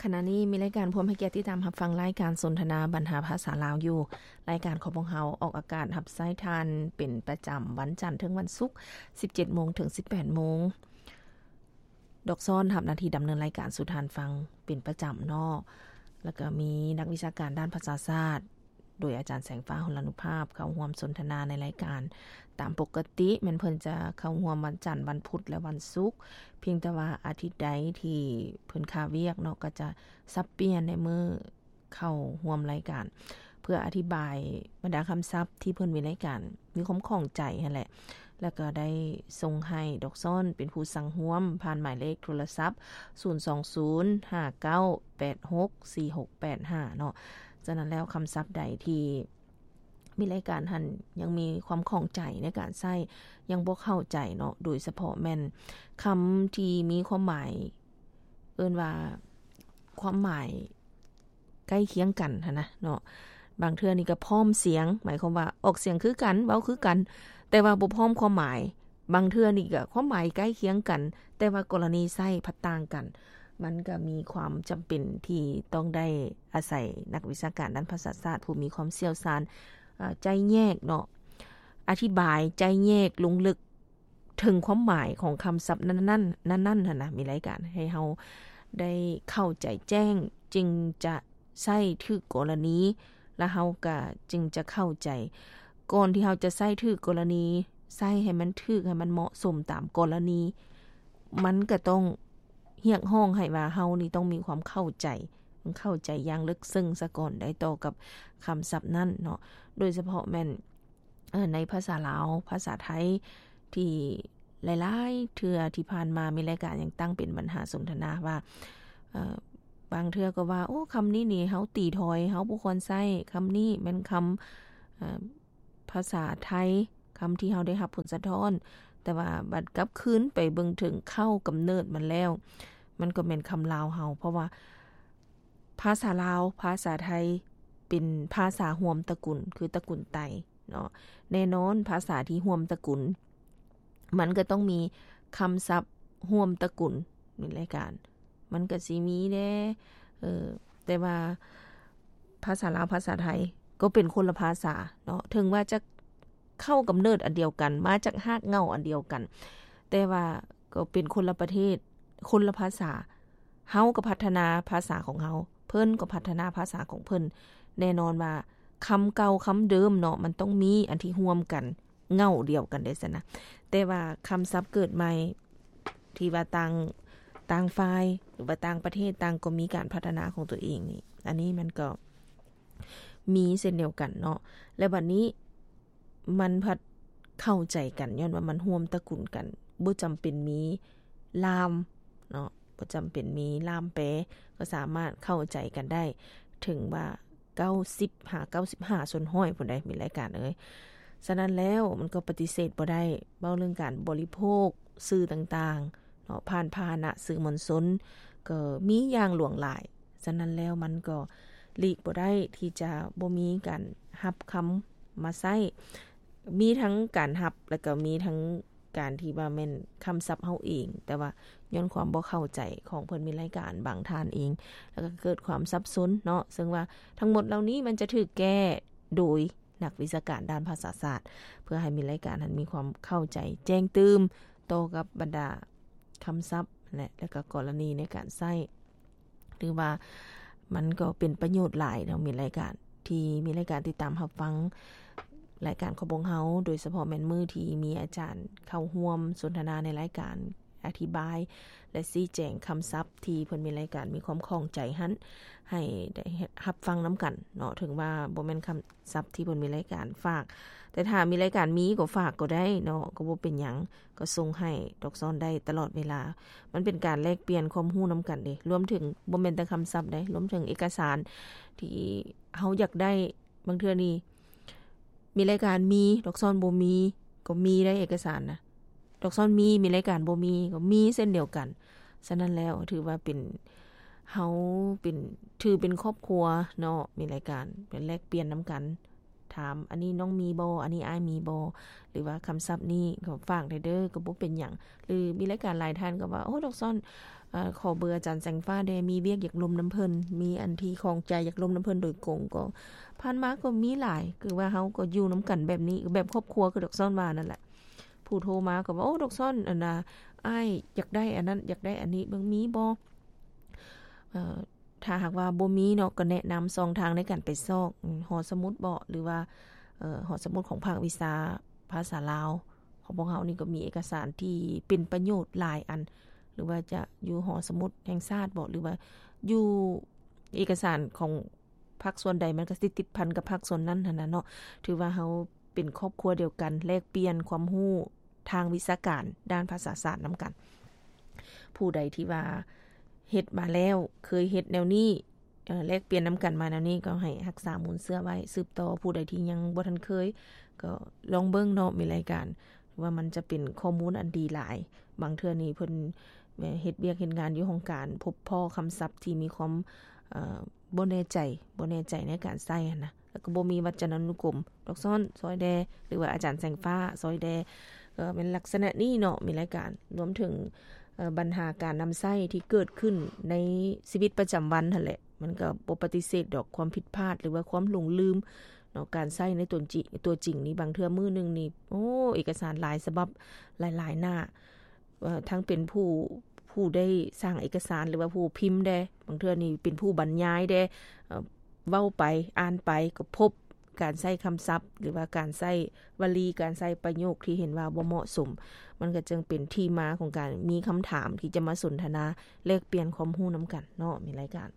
ຂະນະນີ້ມີລາຍການພວມໃຫ້ກຽດຕິດຕາມຮັບຟັງລາຍການສົນທະນາບັນຫາພາສາລາວຢູ່. ລາຍການຂອງພວກເຮົາອອກອາກາດຮັບໃຊ້ທ່ານເປັນປະຈຳວັນຈັນເຖິງວັນສຸກ ສິບເຈັດໂມງເຖິງສິບແປດໂມງ. ດອກຊອນຮັບໜ້າທີ່ດຳເນີນລາຍການສູ່ທ່ານຟັງເປັນປະຈຳເນາະ. ແລ້ວກໍມີນັກວິຊາການດ້ານພາສາສາດ ໂດຍອາຈານແສງຟ້າ ຫົນລານຸພາບ ເຂົ້າຮ່ວມສົນທະນາໃນລາຍການຕາມປົກກະຕິ. ແມ່ນເພິ່ນຈະເຂົ້າຮ່ວມວັນຈັນ, ວັນພຸດ ແລະ ວັນສຸກ. ພຽງແຕ່ວ່າອາທິດໃດທີ່ເພິ່ນຄາວຽກເນາະ, ກໍຈະສັບປ່ຽນໃນມື້ເຂົ້າຮ່ວມລາຍການ ເພື່ອອະທິບາຍບັນດາຄຳສັບທີ່ເພິ່ນມີລາຍການ ມີຄວາມຂ້ອງໃຈຫັ້ນແຫຼະ. ແລ້ວກໍໄດ້ສົ່ງໃຫ້ດອກຊອນເປັນຜູ້ສັ່ງຮ່ວມ ຜ່ານໝາຍເລກໂທລະສັບ ສູນສອງສູນ ຫ້າເກົ້າແປດຫົກ ສີ່ຫົກແປດຫ້າ ເນາະ. ສະນັ້ນແລ້ວ ຄຳສັບໃດທີ່ມີລາຍການຫັ້ນຍັງມີຄວາມຂ້ອງໃຈໃນການໃຊ້, ຍັງບໍ່ເຂົ້າໃຈເນາະ, ໂດຍສະເພາະແມ່ນຄຳທີ່ມີຄວາມໝາຍ ເອີ້ນວ່າຄວາມໝາຍໃກ້ຄຽງກັນຫັ້ນນະເນາະ. ບາງເທື່ອນີ້ກໍພ້ອມສຽງ, ໝາຍຄວາມວ່າອອກສຽງຄືກັນ, ເວົ້າຄືກັນ, ແຕ່ວ່າບໍ່ພ້ອມຄວາມໝາຍ. ບາງເທື່ອນີ້ກໍຄວາມໝາຍໃກ້ຄຽງກັນ, ແຕ່ວ່າກໍລະນີໃຊ້ພັດຕ່າງກັນ. ມັນກໍມີຄວາມຈຳເປັນທີ່ຕ້ອງໄດ້ອາໄສນັກວິຊາການດ້ານພາສາສາດ ຜູ້ມີຄວາມຊ່ຽວຊານ, ເອີ່ ໄຈ້ແຍກເນາະ, ອະທິບາຍໄຈ້ແຍກລົງເລິກ ເຖິງຄວາມໝາຍຂອງຄຳສັບນັ້ນໆ ນັ້ນໆ ຫັ້ນນະ, ມີລາຍການໃຫ້ເຮົາໄດ້ເຂົ້າໃຈແຈ້ງ ຈຶ່ງຈະໃຊ້ຖືກກໍລະນີ ແລ້ວເຮົາກະຈຶ່ງຈະເຂົ້າໃຈ. ກ່ອນທີ່ເຮົາຈະໃຊ້ຖືກກໍລະນີ, ໃຊ້ໃຫ້ມັນຖືກ, ໃຫ້ມັນເໝາະສົມຕາມກໍລະນີ, ມັນກະຕ້ອງຮຽກຮ້ອງໃຫ້ວ່າເຮົານີ້ຕ້ອງມີຄວາມເຂົ້າໃຈ, ເຂົ້າໃຈຢ່າງເລິກເຊິ່ງສາກ່ອນໄດ້ຕໍ່ກັບຄຳສັບນັ້ນເນາະ. ໂດຍສະເພາະແມ່ນ ເອີ່ ໃນພາສາລາວ, ພາສາໄທ ທີ່ຫຼາຍໆເທື່ອທີ່ຜ່ານມາມີລາຍການຍັງຕັ້ງເປັນບັນຫາສົນທະນາວ່າ ເອີ່ ບາງເທື່ອກໍວ່າ ໂອ້ ຄຳນີ້ນີ້ເຮົາຕີຖອຍ, ເຮົາບໍ່ຄວນໃຊ້, ຄຳນີ້ແມ່ນຄຳ ເອີ່ ພາສາໄທ, ຄຳທີ່ເຮົາໄດ້ຮັບຜົນສະທ້ອນ, ແຕ່ວ່າບັດກັບຄືນໄປເບິ່ງເຖິງເຄົ້າກຳເນີດມັນແລ້ວ, ມັນກໍແມ່ນຄຳລາວເຮົາ, ເພາະວ່າ ພາສາລາວ, ພາສາໄທ ເປັນພາສາຮ່ວມຕະກຸນ ຄືຕະກຸນໄຕເນາະ. ແນ່ນອນ ພາສາທີ່ຮ່ວມຕະກຸນ ມັນກໍຕ້ອງມີຄຳສັບຮ່ວມຕະກຸນໃນລາຍການ, ມັນກໍຊິມີແດ່ ເອີ ແຕ່ວ່າພາສາລາວ, ພາສາໄທ ກໍເປັນຄົນລະພາສາເນາະ, ເຖິງວ່າຈະເຄົ້າກຳເນີດອັນດຽວກັນ, ມາຈາກຮາກເຫງົ້າອັນດຽວກັນ, ແຕ່ວ່າ ກໍເປັນຄົນລະປະເທດ, ຄົນລະພາສາ. ເຮົາກໍພັດທະນາພາສາຂອງເຮົາ, ເພິ່ນກໍພັດທະນາພາສາຂອງເພິ່ນ. ແນ່ນອນວ່າຄຳເກົ່າຄຳເດີມເນາະ, ມັນຕ້ອງມີອັນທີ່ຮ່ວມກັນ, ເຫງົ້າດຽວກັນໄດ້ຊັ້ນນະ. ແຕ່ວ່າຄຳສັບເກີດໃໝ່ ທີ່ວ່າຕ່າງ, ຕ່າງຝ່າຍ ຫຼືວ່າຕ່າງປະເທດ ຕ່າງກໍມີການພັດທະນາຂອງຕົວເອງນີ້, ອັນນີ້ມັນກໍມີເຊັ່ນດຽວກັນເນາະ. ແລະ ບັດນີ້ ມັນພັດເຂົ້າໃຈກັນ ຍ້ອນວ່າມັນຮ່ວມຕະກຸນກັນ, ບໍ່ຈຳເປັນມີລ່າມເນາະ, ບໍ່ຈຳເປັນມີລ່າມແປ, ກໍສາມາດເຂົ້າໃຈກັນໄດ້ ເຖິງວ່າເກົ້າສິບຫາເກົ້າສິບຫ້າສ່ວນຮ້ອຍພຸ້ນໃດ໋ ມີລາຍການເອີຍ. ສະນັ້ນແລ້ວ ມັນກໍປະຕິເສດບໍ່ໄດ້, ເວົ້າເລື່ອງການບໍລິໂພກສື່ຕ່າງໆ ເນາະ, ຜ່ານພາຫະນະສື່ມວນຊົນ ກໍມີຢ່າງຫຼວງຫຼາຍ. ສະນັ້ນແລ້ວ ມັນກໍຫຼີກບໍ່ໄດ້ທີ່ຈະບໍ່ມີການຮັບຄຳມາໃຊ້, ມີທັງການຮັບ ແລ້ວກໍມີທັງການທີ່ວ່າແມ່ນຄຳສັບເຮົາເອງ, ແຕ່ວ່າຍ້ອນຄວາມບໍ່ເຂົ້າໃຈຂອງເພິ່ນມີລາຍການບາງທ່ານເອງ, ແລ້ວກໍເກີດຄວາມສັບສົນເນາະ. ເຊິ່ງວ່າທັງໝົດເຫຼົ່ານີ້ມັນຈະຖືກແກ້ໂດຍ ນັກວິຊາການດ້ານພາສາສາດ ເພື່ອໃຫ້ມີລາຍການຫັ້ນມີຄວາມເຂົ້າໃຈແຈ້ງຕື່ມຕໍ່ກັບບັນດາຄຳສັບແຫຼະ ແລະ ກໍກໍລະນີໃນການໃຊ້ ຖືວ່າມັນກໍເປັນປະໂຫຍດຫຼາຍເນາະ. ມີລາຍການທີ່ມີລາຍການຕິດຕາມຮັບຟັງລາຍການຂອງພວກເຮົາ ໂດຍສະເພາະແມ່ນມື້ທີ່ມີອາຈານເຂົ້າຮ່ວມສົນທະນາໃນລາຍການ ອະທິບາຍ ແລະ ຊີ້ແຈງຄຳສັບທີ່ເພິ່ນມີລາຍການມີຄວາມຂ້ອງໃຈຫັ້ນ ໃຫ້ໄດ້ຮັບຟັງນຳກັນເນາະ. ເຖິງວ່າບໍ່ແມ່ນຄຳສັບທີ່ເພິ່ນມີລາຍການຝາກ, ແຕ່ຖ້າມີລາຍການມີກໍຝາກກໍໄດ້ເນາະ, ກໍບໍ່ເປັນຫຍັງ, ກໍສົ່ງໃຫ້ດອກຊອນໄດ້ຕະຫຼອດເວລາ. ມັນເປັນການແລກປ່ຽນຄວາມຮູ້ນຳກັນເດ້, ລວມເຖິງບໍ່ແມ່ນແຕ່ຄຳສັບເດ້, ລວມເຖິງເອກະສານທີ່ເຮົາຢາກໄດ້. ບາງເທື່ອນີ້ ມີລາຍການມີ, ດອກຊອນບໍ່ມີ, ກໍມີໄດ້ເອກະສານນະ. ດອກຊອນມີ, ມີລາຍການບໍ່ມີ, ກໍມີເຊັ່ນດຽວກັນ. ສະນັ້ນແລ້ວ ຖືວ່າເປັນ, ເຮົາເປັນ, ຖືເປັນຄອບຄົວເນາະ, ມີລາຍການ ເປັນແລກປ່ຽນນຳກັນ. ຖາມ ອັນນີ້ນ້ອງມີບໍ່? ອັນນີ້ອ້າຍມີບໍ່? ຫຼືວ່າຄຳສັບນີ້ກໍຝາກແດ່ເດີ, ກໍບໍ່ເປັນຫຍັງ. ຫຼືມີລາຍການຫຼາຍທ່ານກໍວ່າ, ໂອ້ ດອກຊອນ ເອີ ຂໍເບີອາຈານແສງຟ້າແດ່ ມີວຽກຢາກລົມນຳເພິ່ນ ມີອັນທີ່ຂ້ອງໃຈຢາກລົມນຳເພິ່ນໂດຍກົງ. ກໍຜ່ານມາກໍມີຫຼາຍ ຄືວ່າເຮົາກໍຢູ່ນຳກັນແບບນີ້ ແບບຄອບຄົວ ຄືດອກຊອນວ່ານັ້ນແຫຼະ ຜູ້ໂທມາກໍວ່າ ໂອ້ ດອກຊອນ ອັນນ່າ ອ້າຍຢາກໄດ້ອັນນັ້ນ ຢາກໄດ້ອັນນີ້ ເບິ່ງມີບໍ່? ເອີ ຖ້າຫາກວ່າບໍ່ມີເນາະ ກໍແນະນຳຊ່ອງທາງໃນການໄປຊອກ ອາ ຫໍສະໝຸດເບາະ ຫຼືວ່າ ເອີ ຫໍສະໝຸດຂອງພາກວິຊາພາສາລາວຂອງພວກເຮົານີ້ ກໍມີເອກະສານທີ່ເປັນປະໂຫຍດຫຼາຍອັນ ຫຼືວ່າຈະຢູ່ຫໍສະໝຸດແຫ່ງຊາດເບາະ ຫຼືວ່າຢູ່ເອກະສານຂອງ ພາກສ່ວນໃດມັນກໍຊິຕິດພັນກັບພາກສ່ວນນັ້ນຫັ້ນນະເນາະ. ຖືວ່າເຮົາເປັນຄອບຄົວດຽວກັນ ແລກປ່ຽນຄວາມຮູ້ທາງວິຊາການດ້ານພາສາສາດນຳກັນ. ຜູ້ໃດທີ່ວ່າເຮັດມາແລ້ວ ເຄີຍເຮັດແນວນີ້ ເອີ ແລກປ່ຽນນຳກັນມາແນວນີ້ ກໍໃຫ້ຮັກສາມູນເຊື້ອໄວ້ ສືບຕໍ່. ຜູ້ໃດທີ່ຍັງບໍ່ທັນເຄີຍ ກໍລອງເບິ່ງເນາະ ມີລາຍການ ວ່າມັນຈະເປັນຂໍ້ມູນອັນດີຫຼາຍ. ບາງເທື່ອນີ້ເພິ່ນເຮັດວຽກເຮັດງານຢູ່ຫ້ອງການ ພົບພໍ້ຄຳສັບທີ່ມີຄວາມ ເອີ ບໍ່ແນ່ໃຈ ບໍ່ແນ່ໃຈໃນການໃຊ້ຫັ້ນນະ ແລ້ວກໍບໍ່ມີວັດຈະນານຸກົມ ດອກຊອນຊ່ອຍແດ່ ຫຼືວ່າອາຈານແສງຟ້າຊ່ອຍແດ່ ກໍແມ່ນລັກສະນະນີ້ເນາະ ມີລາຍການ. ລວມເຖິງ ເອີ ບັນຫາການນຳໃຊ້ທີ່ເກີດຂຶ້ນໃນຊີວິດປະຈຳວັນຫັ້ນແຫຼະ ມັນກໍບໍ່ປະຕິເສດດອກຄວາມຜິດພາດ ຫຼືວ່າຄວາມຫຼົງລືມເນາະ. ການໃຊ້ໃນຕົວຈິງ ຕົວຈິງນີ້ ບາງເທື່ອມື້ໜຶ່ງນີ້ ໂອ້ ເອກະສານຫຼາຍສະບັບ ຫຼາຍໆໜ້າ ເອີ ທັງເປັນຜູ້ ຜູ້ໄດ້ສ້າງເອກະສານ ຫຼືວ່າຜູ້ພິມແດ່ ບາງເທື່ອນີ້ເປັນຜູ້ບັນຍາຍແດ່ ເອີ ເວົ້າໄປ ອ່ານໄປ ກໍພົບການໃຊ້ຄຳສັບ ຫຼືວ່າການໃຊ້ວະລີ ການໃຊ້ປະໂຫຍກທີ່ເຫັນວ່າບໍ່ເໝາະສົມ. ມັນກໍຈຶ່ງເປັນທີ່ມາຂອງການມີຄຳຖາມທີ່ຈະມາສົນທະນາ ແລກປ່ຽນຄວາມຮູ້ນຳກັນເນາະ ມີລາຍການ.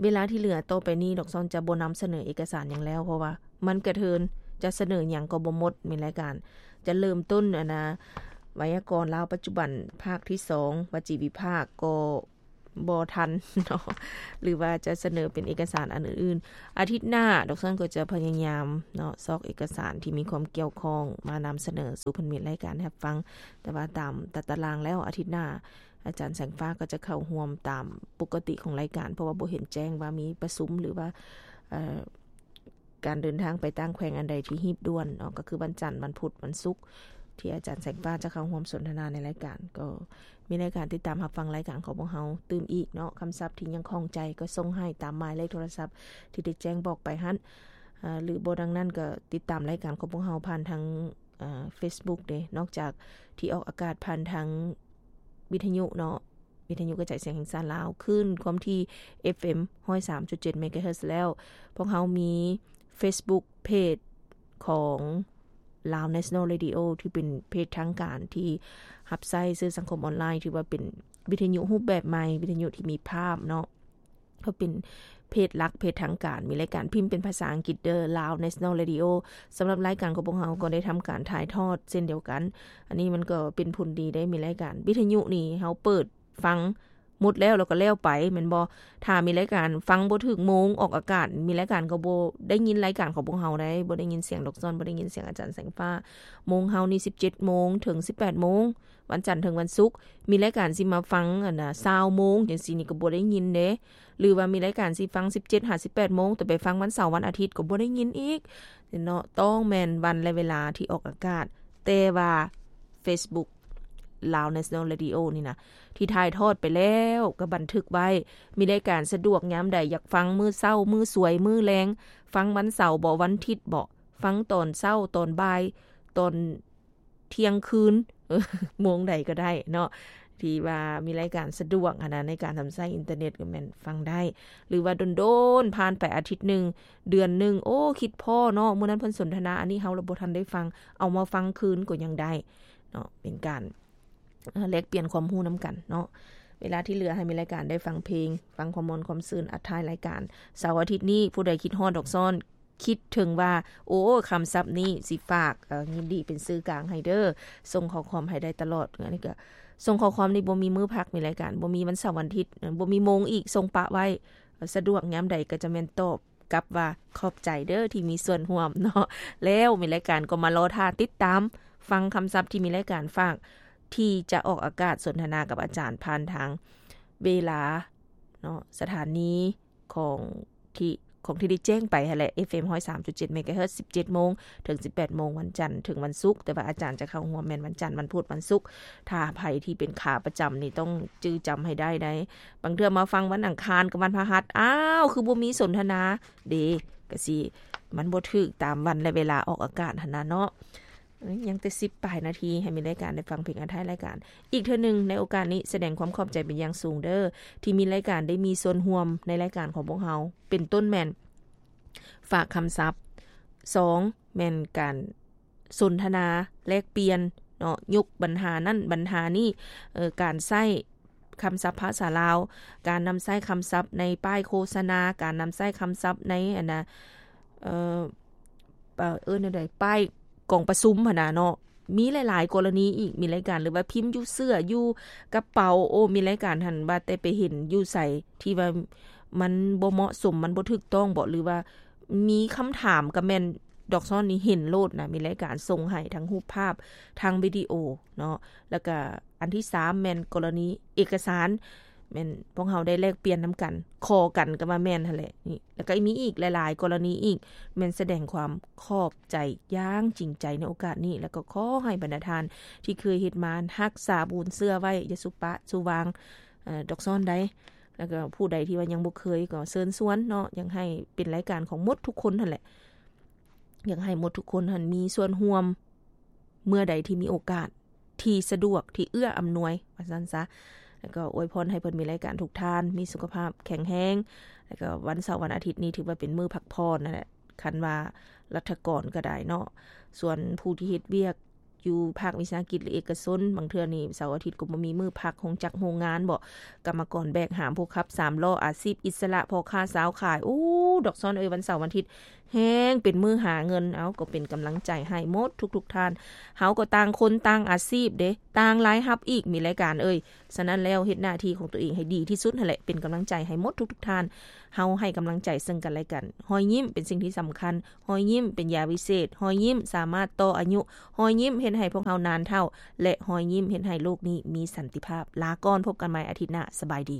ເວລາທີ່ເຫຼືອຕໍ່ໄປນີ້ ດອກຊອນຈະບໍ່ນຳສະເໜີເອກະສານຫຍັງແລ້ວ ເພາະວ່າມັນກະເທີນ ຈະສະເໜີຫຍັງກໍບໍ່ໝົດ ມີລາຍການ. ຈະເລີ່ມຕົ້ນ ອັນນະ ໄວຍາກອນລາວປັດຈຸບັນ ພາກທີສອງ ວະຈີວິພາກ ກໍບໍ່ທັນເນາະ ຫຼືວ່າຈະສະເໜີເປັນເອກະສານອັນອື່ນໆ. ອາທິດໜ້າ ດອກຊອນກໍຈະພະຍາຍາມເນາະ ຊອກເອກະສານທີ່ມີຄວາມກ່ຽວຂ້ອງມານຳສະເໜີສູ່ເພິ່ນມີລາຍການຮັບຟັງ. ແຕ່ວ່າຕາມຕາຕະລາງແລ້ວ ອາທິດໜ້າ ອາຈານແສງຟ້າກໍຈະເຂົ້າຮ່ວມຕາມປົກກະຕິຂອງລາຍການ ເພາະວ່າບໍ່ເຫັນແຈ້ງວ່າມີປະຊຸມ ຫຼືວ່າ ເອີ ການເດີນທາງໄປຕ່າງແຂວງອັນໃດທີ່ຮີບດ່ວນເນາະ ກໍຄືວັນຈັນ ວັນພຸດ ວັນສຸກ ທີ່ອາຈານແສງຟ້າຈະເຂົ້າຮ່ວມສົນທະນາໃນລາຍການ. ກໍມີລາຍການຕິດຕາມຮັບຟັງລາຍການຂອງພວກເຮົາຕື່ມອີກເນາະ. ຄຳສັບທີ່ຍັງຂ້ອງໃຈກໍສົ່ງໃຫ້ຕາມໝາຍເລກໂທລະສັບທີ່ໄດ້ແຈ້ງບອກໄປຫັ້ນ ເອີ ຫຼືບໍ່ດັ່ງນັ້ນກໍຕິດຕາມລາຍການຂອງພວກເຮົາຜ່ານທາງ ເອີ ເຟສບຸກເດ້ ນອກຈາກທີ່ອອກອາກາດຜ່ານທາງວິທະຍຸເນາະ ວິທະຍຸກະຈາຍສຽງແຫ່ງຊາດລາວ ຄື້ນຄວາມຖີ່ ເອັຟເອັມ ຮ້ອຍສາມຈຸດເຈັດ ເມກາເຮີດ ແລ້ວ ພວກເຮົາມີເຟສບຸກເພຈຂອງ Lao National Radio ທີ່ເປັນເພຈທາງການທີ່ຮັບໃຊ້ສື່ສັງຄົມອອນລາຍ ຖືວ່າເປັນວິທະຍຸຮູບແບບໃໝ່ ວິທະຍຸທີ່ມີພາບເນາະ. ກໍເປັນເພຈຫຼັກ ເພຈທາງການ ມີລາຍການພິມເປັນພາສາອັງກິດເດີ Lao National Radio. ສຳລັບລາຍການຂອງພວກເຮົາກໍໄດ້ທຳການຖ່າຍທອດເຊັ່ນດຽວກັນ. ອັນນີ້ມັນກໍເປັນຜົນດີໄດ້ ມີລາຍການວິທະຍຸນີ້ ເຮົາເປີດຟັງໝົດແລ້ວ ແລ້ວກໍແລ້ວໄປ ແມ່ນບໍ່? ຖ້າມີລາຍການຟັງບໍ່ຖືກໂມງອອກອາກາດ ມີລາຍການກໍບໍ່ໄດ້ຍິນລາຍການຂອງພວກເຮົາໄດ໋ ບໍ່ໄດ້ຍິນສຽງດອກຊອນ ບໍ່ໄດ້ຍິນສຽງອາຈານແສງຟ້າ. ໂມງເຮົານີ້ສິບເຈັດໂມງເຖິງສິບແປດໂມງ ວັນຈັນເຖິງວັນສຸກ. ມີລາຍການຊິມາຟັງ ອັນນ່າ ຊາວໂມງຈັ່ງຊີ້ນີ້ກໍບໍ່ໄດ້ຍິນເດ້ ຫຼືວ່າມີລາຍການຊິຟັງສິບເຈັດຫາສິບແປດໂມງ ແຕ່ໄປຟັງວັນເສົາວັນອາທິດກໍບໍ່ໄດ້ຍິນອີກເນາະ. ຕ້ອງແມ່ນວັນ ແລະ ເວລາທີ່ອອກອາກາດ ແຕ່ວ່າເຟສບຸກ Lao National Radio ນີ້ນະ ທີ່ຖ່າຍທອດໄປແລ້ວກໍບັນທຶກໄວ້ ມີລາຍການສະດວກຍາມໃດ ຢາກຟັງມື້ເຊົ້າ ມື້ສວຍ ມື້ແລງ ຟັງວັນເສົາບໍ ວັນທິດບໍ ຟັງຕອນເຊົ້າ ຕອນບ່າຍ ຕອນ ທ່ຽງຄືນ ໂມງໃດກໍໄດ້ເນາະ ທີ່ວ່າມີລາຍການສະດວກຫັ້ນນະ ໃນການນຳໃຊ້ອິນເຕີເນັດກໍແມ່ນຟັງໄດ້ ຫຼືວ່າດົນໆ ຜ່ານໄປອາທິດໜຶ່ງ ເດືອນໜຶ່ງ ໂອ້ ຄິດພໍ້ເນາະ ມື້ນັ້ນເພິ່ນສົນທະນາອັນນີ້ ເຮົາລະບໍ່ທັນໄດ້ຟັງ ເອົາມາຟັງຄືນກໍຍັງໄດ້ເນາະ ເປັນການ ເອີ ແລກປ່ຽນຄວາມຮູ້ນຳກັນເນາະ. ເວລາທີ່ເຫຼືອໃຫ້ມີລາຍການໄດ້ຟັງເພງ ຟັງຄວາມມ່ວນຄວາມຊື່ນ ອັດທ້າຍລາຍການ ເສົາອາທິດນີ້ ຜູ້ໃດຄິດຮອດດອກຊອນ ຄິດເຖິງວ່າ ໂອ້ ຄຳສັບນີ້ຊິຝາກ ເອີ ຍິນດີເປັນສື່ກາງໃຫ້ເດີ ສົ່ງຂໍ້ຄວາມໃຫ້ໄດ້ຕະຫຼອດ. ອັນນີ້ກໍສົ່ງຂໍ້ຄວາມນີ້ບໍ່ມີມື້ພັກ ມີລາຍການ ບໍ່ມີວັນເສົາວັນທິດ ບໍ່ມີໂມງອີກ ສົ່ງປະໄວ້ ສະດວກຍາມໃດກໍຈະແມ່ນຕອບກັບວ່າ ຂອບໃຈເດີທີ່ມີສ່ວນຮ່ວມເນາະ. ແລ້ວມີລາຍການກໍມາລໍຖ້າຕິດຕາມຟັງຄຳສັບທີ່ມີລາຍການຝາກ ທີ່ຈະອອກອາກາດສົນທະນາກັບອາຈານຜ່ານທາງເວລາເນາະ ສະຖານີ ຂອງທີ່ ຂອງທີ່ໄດ້ແຈ້ງໄປຫັ້ນແຫຼະ ເອັຟເອັມ ຮ້ອຍສາມຈຸດເຈັດ ເມກາເຮີດ ສິບເຈັດໂມງເຖິງສິບແປດໂມງ ວັນຈັນເຖິງວັນສຸກ, ແຕ່ວ່າອາຈານຈະເຂົ້າຮ່ວມແມ່ນວັນຈັນ, ວັນພຸດ, ວັນສຸກ. ຖ້າໃຜທີ່ເປັນຂາປະຈຳນີ້ ຕ້ອງຈື່ຈຳໃຫ້ໄດ້ໄດ໋. ບາງເທື່ອມາຟັງວັນອັງຄານກັບວັນພະຫັດ, ອ້າວ ຄືບໍ່ມີສົນທະນາເດ ກະຊິ ມັນບໍ່ຖືກຕາມວັນ ແລະ ເວລາອອກອາກາດຫັ້ນນະເນາະ. ເອີຍ ຍັງແຕ່ສິບປາຍນາທີ ໃຫ້ມີລາຍການໄດ້ຟັງເພງອັນທ້າຍລາຍການ. ອີກເທື່ອໜຶ່ງ ໃນໂອກາດນີ້ ສະແດງຄວາມຂອບໃຈເປັນຢ່າງສູງເດີ ທີ່ມີລາຍການໄດ້ມີສ່ວນຮ່ວມໃນລາຍການຂອງພວກເຮົາ ເປັນຕົ້ນແມ່ນ ຝາກຄຳສັບ, ສອງ ແມ່ນການສົນທະນາແລກປ່ຽນເນາະ, ຍົກບັນຫານັ້ນບັນຫານີ້, ເອີ ການໃຊ້ຄຳສັບພາສາລາວ, ການນຳໃຊ້ຄຳສັບໃນປ້າຍໂຄສະນາ, ການນຳໃຊ້ຄຳສັບໃນ ອັນນະ ເອີ ເອີ້ນແນວໃດ ປ້າຍກອງປະຊຸມຫັ້ນນະເນາະ. ມີຫຼາຍໆກໍລະນີອີກ ມີລາຍການ ຫຼືວ່າພິມຢູ່ເສື້ອ ຢູ່ກະເປົາ, ໂອ້ ມີລາຍການຫັ້ນ ວ່າແຕ່ໄປເຫັນຢູ່ໃສທີ່ວ່າມັນບໍ່ເໝາະສົມ ມັນບໍ່ຖືກຕ້ອງບໍ ຫຼືວ່າມີຄຳຖາມ ກະແມ່ນດອກຊອນນີ້ເຫັນໂລດນະ, ມີລາຍການສົ່ງໃຫ້ທັງຮູບພາບ ທັງວິດີໂອເນາະ. ແລ້ວກະອັນທີສາມແມ່ນກໍລະນີເອກະສານ ແມ່ນພວກເຮົາໄດ້ແລກປ່ຽນນຳກັນ, ຂໍກັນກໍວ່າແມ່ນຫັ້ນແຫຼະ. ນີ້ ແລ້ວກໍມີອີກຫຼາຍໆກໍລະນີອີກ, ແມ່ນສະແດງຄວາມຂອບໃຈຢ່າງຈິງໃຈໃນໂອກາດນີ້, ແລ້ວກໍຂໍໃຫ້ບັນດາທ່ານທີ່ເຄີຍເຮັດມາ ຮັກສາບຸນເຊື່ອໄວ້, ຢ່າສຸປະສຸວາງ ເອີ ດອກຊອນໃດ. ແລ້ວກໍຜູ້ໃດທີ່ວ່າຍັງບໍ່ເຄີຍ ກໍເຊີນຊວນເນາະ, ຢາກໃຫ້ເປັນລາຍການຂອງໝົດທຸກຄົນຫັ້ນແຫຼະ, ຢາກໃຫ້ໝົດທຸກຄົນຫັ້ນມີສ່ວນຮ່ວມ ເມື່ອໃດທີ່ມີໂອກາດ ທີ່ສະດວກ ທີ່ເອື້ອອຳນວຍ ວ່າຊັ້ນຊະ. ແລ້ວກໍອວຍພອນໃຫ້ເພິ່ນມີລາຍການທຸກທ່ານ ມີສຸຂະພາບແຂງແຮງ, ແລ້ວກໍວັນເສົາວັນອາທິດນີ້ຖືວ່າເປັນມື້ພັກຜ່ອນນັ້ນແຫຼະ ຄັນວ່າລັດຖະກອນກໍໄດ້ເນາະ. ສ່ວນຜູ້ທີ່ເຮັດວຽກຢູ່ພາກວິສາຫະກິດ ຫຼື ເອກະຊົນ, ບາງເທື່ອນີ້ເສົາອາທິດກໍບໍ່ມີມື້ພັກ, ໂຮງຈັກໂຮງງານບໍ, ກຳມະກອນແບກຫາມ, ຜູ້ຂັບສາມລໍ້, ອາຊີບອິດສະຫຼະ, ພໍ່ຄ້າຊາວຂາຍ, ໂອ້ ດອກຊອນເອີຍ, ວັນເສົາວັນອາທິດ ແຮງເປັນມື້ຫາເງິນ. ເອົາ ກໍເປັນກຳລັງໃຈໃຫ້ໝົດທຸກໆທ່ານ. ເຮົາກໍຕ່າງຄົນຕ່າງອາຊີບເດ້, ຕ່າງລາຍຮັບອີກ ມີລາຍການເອີຍ. ສະນັ້ນແລ້ວ ເຮັດໜ້າທີ່ຂອງຕົວເອງໃຫ້ດີທີ່ສຸດຫັ້ນແຫຼະ, ເປັນກຳລັງໃຈໃຫ້ໝົດທຸກໆທ່ານ. ເຮົາໃຫ້ກຳລັງໃຈເຊິ່ງກັນແລະກັນ. ຮອຍຍິ້ມເປັນສິ່ງທີ່ສຳຄັນ. ຮອຍຍິ້ມເປັນຢາວິເສດ. ຮອຍຍິ້ມສາມາດຕໍ່ອາຍຸ. ຮອຍຍິ້ມເຮັດໃຫ້ພວກເຮົານານເຖົ້າ. ແລະ ຮອຍຍິ້ມເຮັດໃຫ້ໂລກນີ້ມີສັນຕິພາບ. ລາກ່ອນ, ພົບກັນໃໝ່ອາທິດໜ້າ. ສະບາຍດີ.